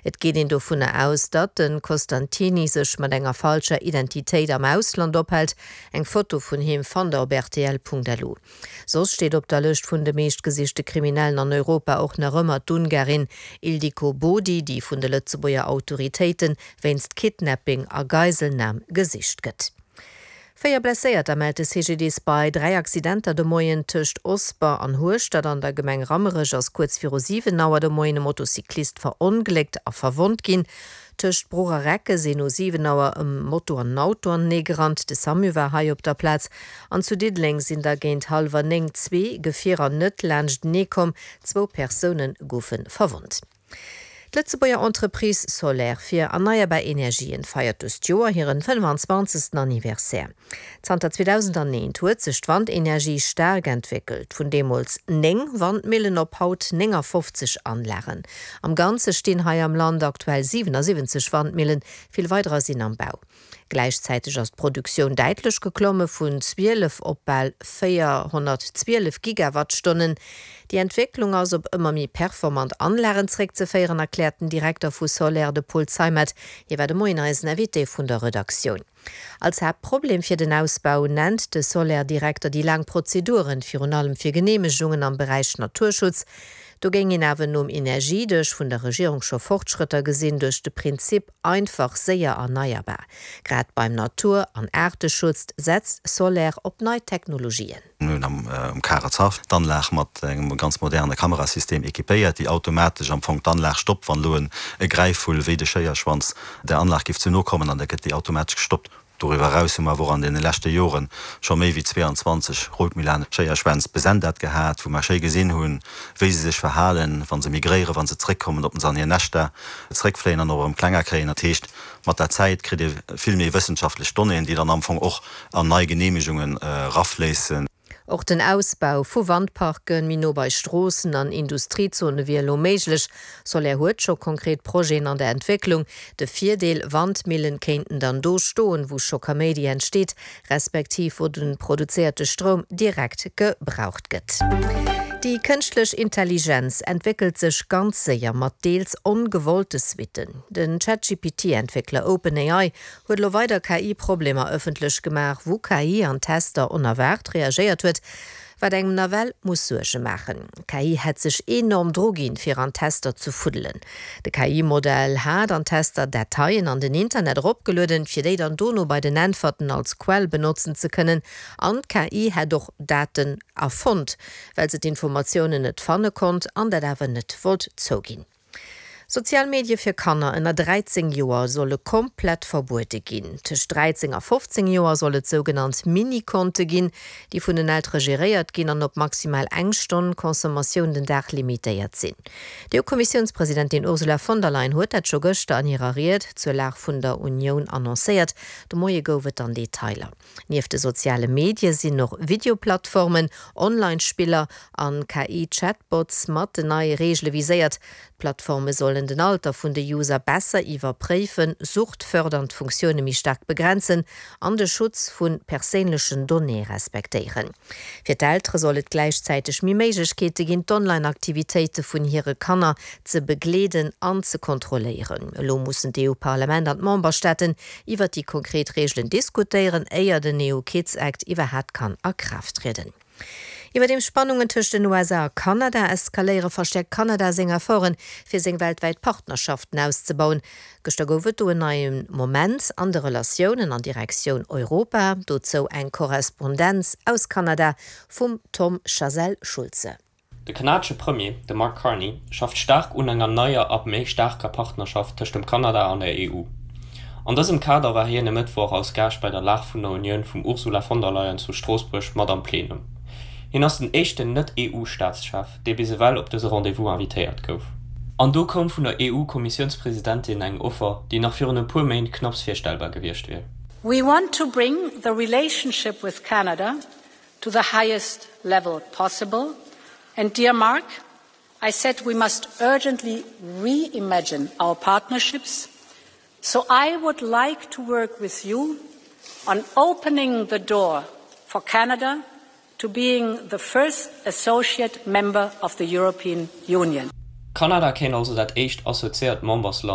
Et geet een dovunner aus, datt de Costantini sech mat enger falscher Identitéit am Ausland ophält. Eng Foto vun him fannt der op rtl.lu. Soss steet op der Lëscht vun de meeschtgesichte Kriminellen an Europa och nach ëmmer d'Ungarin Ildiko Bodi, déi vun de Lëtzebuerger Autoritéite wéinst Kidnapping a Geiselnam gesicht gëtt. 4 Blesséierter mellt de CGDIS bei 3 Accidenter de Moien tëscht Osper an Hueschtert an der Gemeng Rammerech ass kuerz viru 7 Auer de Moien e Motocyclist verongléckt a verwonnt ginn. Tëscht Bruch a Recke sinn no 7 Auer e Moto an en Auto anenee gerannt. De Samu war hei op der Plaz. An zu Diddeleng sinn da géint hallwer 9 zwee Gefierer net laanschtenee komm. Zwou Persoune goufe verwonnt. D'Lëtzebuerger Entreprise Soler fir erneierbar Energien feiert dëst Joer hiren 25. Anniversaire. Zanter 2001 huet sech d'Wandenergie staark entwéckelt, vun deemools 9 Wandmillen op haut 59 Anlagen. Am Ganze stinn hei am Land aktuell 77 Wandmillen, vill weiderer sinn am Bau. Gläichzäiteg ass d'Produktioun däitlech geklomme vun 12 op bal 412 Gigawattstonnen. Déi Entwécklung ass op ëmmer méi performant Anlagen zeréckzeféieren, erkläert den Direkter vu Soler, de Paul Zeimet. Hie war de Moien eisen Invité vun der Redaktioun. Als Haaptproblem fir den Ausbau nennt de Soler-Direkter déi laang Prozeduren, virun allem fir Geneemegungen am Beräich Naturschutz. Do géing een awer nom Energiedësch vun der Regierung scho Fortschrëtter gesinn duerch de Prinzip einfach, séier, erneierbar. Grad beim Natur an Aarteschutz setzt Soler op nei Technologien. Mir hunn am Karetzhaff d'Anlag mat engem ganz moderne Kamerasystem equipéiert, déi automatesch am Fong d'Anlag stoppt, wann elo e Gräifvull wéi de Schéierschwanz der Anlag géif ze no kommen, an da gëtt déi automatesch gestoppt. Doriwwer eraus hu mer awer och an deene leschte Jore scho méi wéi 22 Rotmilan-Schéierschwänz besendat gehat, wou mer schéi gesinn hunn, wéi se sech verhalen, wa se migréieren, wa se zréckkommen, ob se an hir Näschter zréckfléien an och erëm klenger kréien. Dat heescht, mat der Zäit kritt ee vill méi wëssenschaftlech Donnéeën, déi dann am Fong och an nei Geneemegungen erafléissen. Och den Ausbau vu Wandparke méi no bei Stroossen an Industriezone wier elo méiglech. Soler huet scho konkret Projeten an der Entwécklung. De Virdeel, Wandmillen kéinten dann do stoen, wou scho Kaméidi entsteet, respektiv wou de produzéierte Stroum direkt gebraucht gëtt. Déi kënschtlech Intelligenz entwéckelt sech ganz séier, mat deels ongewollte Suitten. Den ChatGPT-Entwéckler OpenAI huet elo weider KI-Problemer ëffentlech gemaach, wou KI an Tester onerwaart reagéiert huet, wat engem nawell muss Suerge maachen. KI hätt sech enorm druginn, fir an Tester ze fuddelen. De KI-Modell hat an Tester Dateien an den Internet eropgelueden, fir déi dann dono bei den Äntwerten als Quell benotzen ze kënnen. An d'KI hätt och Daten erfonnt, well se d'Informatiounen net fanne konnt an dat awer net wollt zouginn. Sozial Medie fir Kanner ënner 13 Joer solle komplett verbuede ginn. Tëscht 13 a 15 Joer soll et sougenannt Mini-Konte ginn, déi vun den Eltere geréiert ginn an op maximal eng Stonn Consommatioun den Dag limitéiert sinn. D'EU-Kommissiounspresidentin Ursula von der Leyen huet dat scho gëschter an hirer Ried zur Lag vun der Unioun annoncéiert. De Moie gouf et dann Detailer. Nieft de soziale Medie sinn och Videoplattformen, Online-Spiller an KI-Chatbots mat den neie Reegele viséiert. D'Plattforme sollen den Alter vun de User besser iwwerpréifen, suchtfördernd Funktioune méi staark begrenzen an de Schutz vu perséinlechen Donnéeë respektéieren. Fir d'Eltere soll et gläichzäiteg méi Méiglechkeete ginn, d'Online-Aktivitéite vun hire Kanner ze begleeden an ze kontrolléieren. Elo mussen d'EU-Parlament an d'Memberstaaten iwwer déi konkret Reegelen diskutéieren, éier den EU Kids Act iwwerhaapt kann a Kraaft trieden. Iwwerdeems Spannungen tëscht den USA a Kanada eskaléiere, verstäerkt Kanada seng Efforten, fir seng weltwäit Partnerschaften auszebauen. Gëschter gouf et do en neie Moment an de Relatiounen an Direktioun Europa. Dozou eng Korrespondenz aus Kanada vum Tom Chazelle-Schulze. De kanadesche Premier, de Mark Carney, schafft staark un enger neier a méi staarker Partnerschaft tëscht dem Kanada an der EU. An dësem Kader war hien e Mëttwoch als Gaascht bei der Lag vun der Unioun vum Ursula von der Leyen zu Stroossbuerg mat am Plenum. Hien ass den éischten Net-EU-Staatschef, dee bis ewell op dëse Rendez-vous invitéiert gouf. An do koum vun der EU-Kommissiounspresidentin eng Offer, déi nach virun e puer Méint knapps virstellbar gewiescht wier. We want to bring the relationship with Canada to the highest level possible. And dear Mark, I said we must urgently reimagine our partnerships. So I would like to work with you on opening the door for Canada to being the first associate member of the European Union. Kanada kéint also dat éischt associéiert Membersland.